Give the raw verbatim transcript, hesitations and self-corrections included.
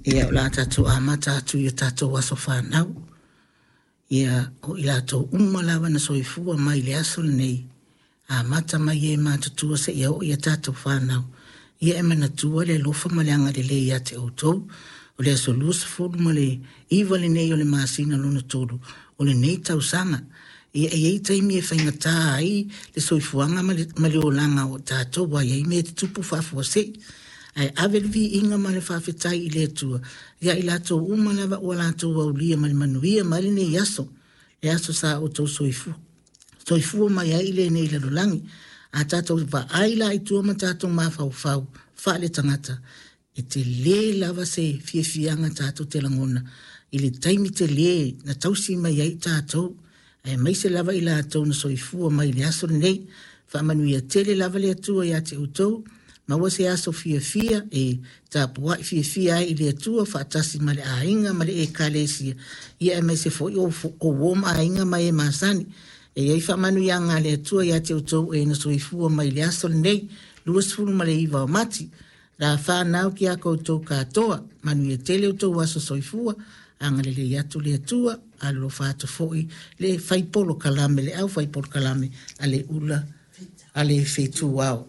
Ia, o le a tatou amata atu i o tatou aso fanau. Ia, o i latou uma lava na soifua mai i le aso lenei, amata mai e matutua seia oo ia tatou fanau. Ia e manatua le alofa ma le agalelei ia te outou. O le aso luasefulu ma le iva lenei o le masina lona tolu o lenei tausaga. Ia e i ai taimi e faigata ai le soifuaga ma le, ma le olaga o tatou, ua i ai mea e tutupu faafuasei. Ae ave le viiga ma le faafetai i le Atua ia i latou uma lava ua latou aulia ma le manuia mai lenei aso, le aso sa outou soifua, soifua mai ai i lenei lalolagi. A tatou vaai la i tua ma tatou mafaufau faale-tagata, e tele lava se fiafiaga tatou te lagona i le taimi tele na tausi mai ai tatou, aemaise lava i latou na soifua mai i le aso lenei. Faamanuia tele lava le Atua ia te outou, maua se aso fiafia e tapuai fiafia ai i le Atua faatasi ma le aiga ma le ekalesia, ia aemaise foi o uo ma aiga ma e masani. E i ai faamanuiaga a le Atua ia te outou e na soifua mai i le aso lenei, luasefulu ma le iva o Mati. La whanau ki a koutou katoa, manuia tele o tou aso soifua, agalelei atu le Atua, alofa atu foi le fai polokalame, le au fai polokalame a le ula, a le fetu ao.